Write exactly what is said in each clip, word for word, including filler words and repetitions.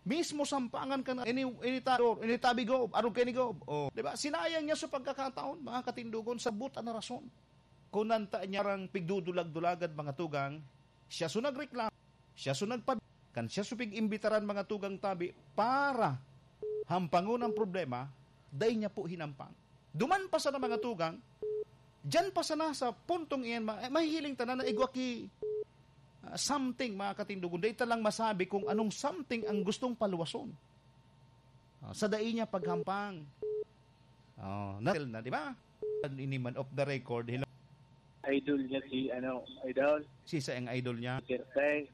Mismo sampangan ka na, ini, ini ta-, ini tabi, Gob, arog kaini, Gob. Oh, di ba? Sinayang niya sa pagkakataon, mga katindogon, sa buta na rason. Kung nanta niya rang pigdudulag-dulagan, mga tugang, siya so nagreklamo, siya so nagpab-, kan siya so pig-imbitaran, mga tugang tabi, para hampangon ang problema, dai niya po hinampang. Duman pa sana, mga tugang, diyan pa sana sa puntong iyan, ma-, mahihiling tanan na igwa ki, ah, something, mga katindogon. Dai ta lang masabi kung anong something ang gustong paluwason. Ah, sa dai niya paghampang. Oh, na, na, di ba? Ini man off the record, hello. Idol niya si, ano, idol. Si sa ang idol niya. Sir Tay.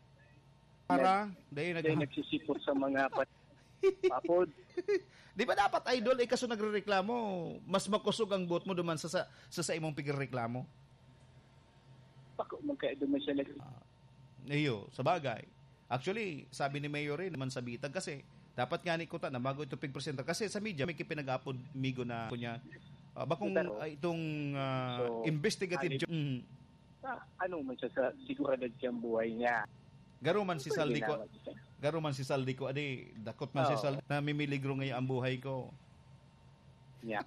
Para, Nag-, dahil nag- dahil nagsisipot sa mga pa-, papod. Di ba dapat, idol, eh, kaso nagrereklamo, mas makosog ang buot mo duman sa, sa, sa, sa imong pigrereklamo? Bako man kaya duman siya nag- Ah, iyo, sa bagay. Actually, sabi ni Mayor rin naman sa bitag kasi dapat nga ni kuta na bago ito pigpresenta. Kasi sa media, may kipinag-apod migo na kunya, ah, bakong, Pero, ah, itong, ah, so, investigative ali- jo-, mm. Sa ano man siya sa seguridad siyang buhay niya. Garo man si Pwede Saldi ko, naman siya. Garo man si Saldi ko, adi, dakot man si Oo. Saldi, namimiligro ngayon ang buhay ko. Yeah.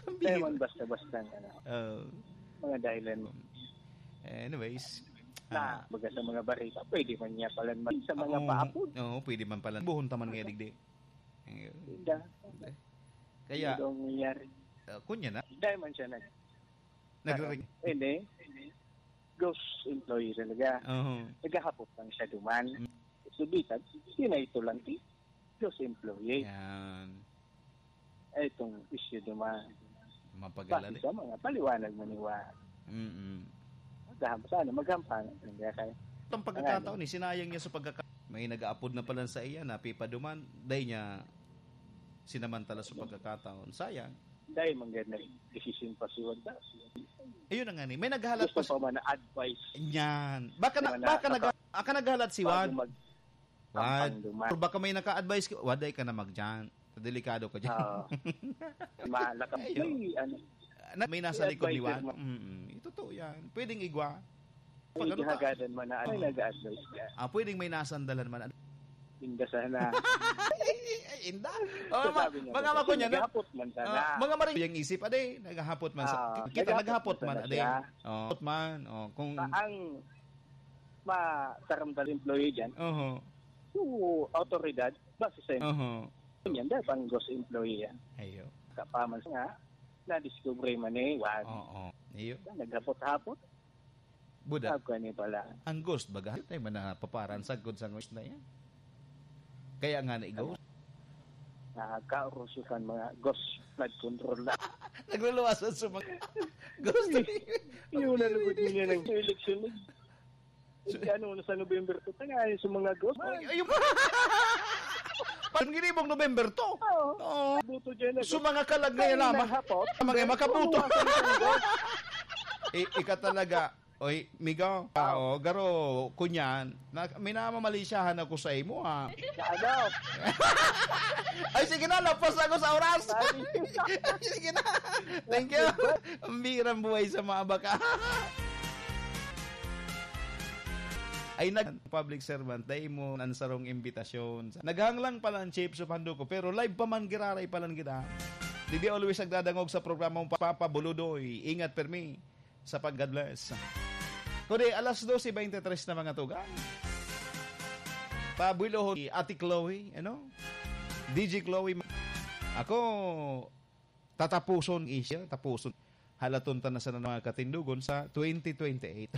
Ang Kaya bihira. Man basta-basta, ano, Oo. Mga dahilan. Anyways, Na, ah, baga sa mga barita, pwede man niya pala ma-, sa mga Oo, paapod. Oo, pwede man pala. Buhon taman nga digdi. Ayun. Hindi. Kaya, Hindi daw nangyayari. Ah, kunya na. Dahil man siya nag-, Nagre- ano, hindi. Ghost employee talaga. Oo. Naghahapot lang siya duman. Mm. Subitan, yun na ito lang, eh. Ghost employee. Yan. Eh, itong issue duman. Mapagala Base rin. Sa mga paliwanag mo ni Juan. Mm-mm. Maghaham-, sana maghampang. Hindi kaya. Itong pagkakataon, Ano? Eh, sinayang niya sa pagkaka-, may nag-aapod na pala sa iya, napipaduman. Dahil niya sinamantala sa pagkakataon. Sayang. Dahil man ganun, decision pa si Juan. Ayun na nga ni. May naghalat Gusto pa si pa man na advice. Yan. Baka na, Mga baka nag-, naka-, aka naghalat si bago Juan. Mag-, Wad. Ang duman. Pero baka may naka-advise ka, waday ka na magdiyan. Delikado ka diyan. Oo. Malaka-, Ayun. May, ano, Na, may nasa may likod ni advisor Juan. Ma- Mm-mm. Ito to yan. Pwedeng igwa. Pag May ano ka? Ginagadan man na, ano, Ay, nag-a-advise ka. Ah, pwedeng may nasandalan man. Inda sana. Ay, inda. Oh, So, ma-, sabi niya, mga "Kasi makunya na. Naghapot man sana." Ah, mga maring yung isip, ade, naghahapot man sa, Ah, kita naghahapot naghahapot man man, sana ade. Siya. Oh, hapot man. Oh, kung Sa ang mataramdam employee dyan, Oho. So, autoridad, base sa Oho. Yan, dapat ang ghost employee yan. Ayo. Kapaman nga, na-discover man eh, wag. Oo. Iyo. Naghapot-hapot. Buda. Sabi ko, ano pala? Ang ghost, baga? Ay, man na paparan, sagkod sa ghost na yan. Kaya nga na i-ghost. Nakakaurusukan mga ghost flood control na. Nagluluwasan sa mga ghost. Yung nalugod niya ng eleksyon. So, ano, sa November two, tangayon sa mga ghost. Ay, ayun. Parang ginibong November two. Oo. Oo. Buto dyan na. So, mga kalag na yan, Ay, ama. Naghapot. Mga makabuto. Nawasan ng ghost. I-, ika talaga. Oy, migo. Ah, oh, garo, kunyan. Na, minamamalisyahan ako sa imo, ha. Ano? Ay, sige na, lapas ako sa oras. Ay. Sige na. Thank you. Ang birang buhay sa mga baka. Ay, nag-, public servant, dai mo ang sarong imbitasyon. Naghanglang pala ang chips of hando ko, pero live pa man giraray pa lang kita. Digdi always nagdadangog sa programang Papa Buludoy. Ingat, permi. Sa pag-, God bless. Kundi alas dose beintitres na, mga tugang. Pabuloho ni Ate Chloe, ano? D J Chloe. Ako, tatapuson, Asia, tapuson. Halaton ta na sana, mga katindogon, sa twenty twenty-eight.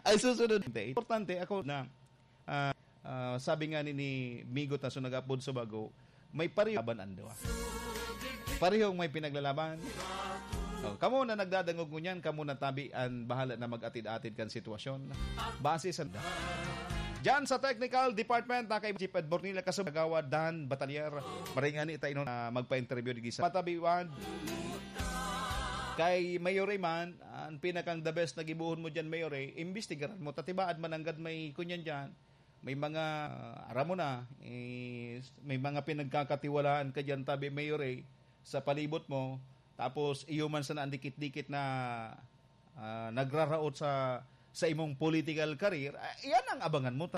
Ay, susunod. Importante, ako na, ah, ah, sabi nga ni, ni Migo ta, so nag-apod sa bago, may pareho laban ang duwa. Parehong may pinaglalaban. Oh, kamo na nagdadangog ngunyan, kamo na tabi an bahala na mag-atid-atid kan sitwasyon. Base sa Diyan sa technical department, na kay Chief Edbornila Kasub, Kagawad Dan Batalier. Maringani ta inon, ah, magpa-interview digdi sa Matabiwan. Kay Mayor Raymond, ang pinakang the best na gibohon mo diyan, Mayor, eh, imbestigaran mo. Tatibaad mananggad may kunyan diyan. May mga, ah, aram mo na, eh, may mga pinagkakatiwalaan ka diyan, tabi, Mayor, eh, sa palibot mo. Tapos, iyo man sana ang dikit-dikit na, ah, nagraraot sa, sa imong political career. Ah, iyan ang abangan mo.